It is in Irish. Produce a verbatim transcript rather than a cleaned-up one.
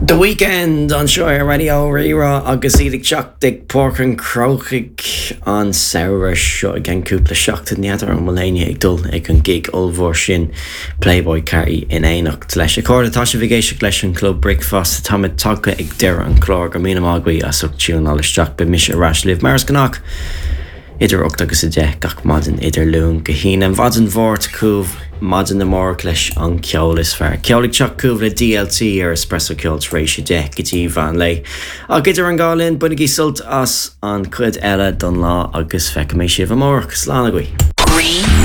The Weeknd anseo ar Raidió Rí-Rá agus iad ag teacht ag Páirc an Chrócaigh an samhradh seo i gceann cúpla seachtain n'fheadar an bhfuil éinne ag dul ag an gig ollmhór sin Playboi Carti in éineacht leis. A chairde tá sibh ag éisteacht leis an Club Bricfeasta táimid tagtha ag deireadh an chláir go míle maith agaibh as ucht tiúnáil isteach beidh mise ar ais libh mar is gnách. Idir ocht agus a deich gach maidin idir Luan go hAoine an mhaidin Mháirt chugaibh maidin amárach leis an ceol is fearr. Ceol ag teacht chugaibh le DLT ar Espresso Ceol tar éis a deich go dtí meán lae. Ach idir an dá linn bainigí sult as an chuid eile don lá agus feicfidh mé sibh amárach slán agaibh.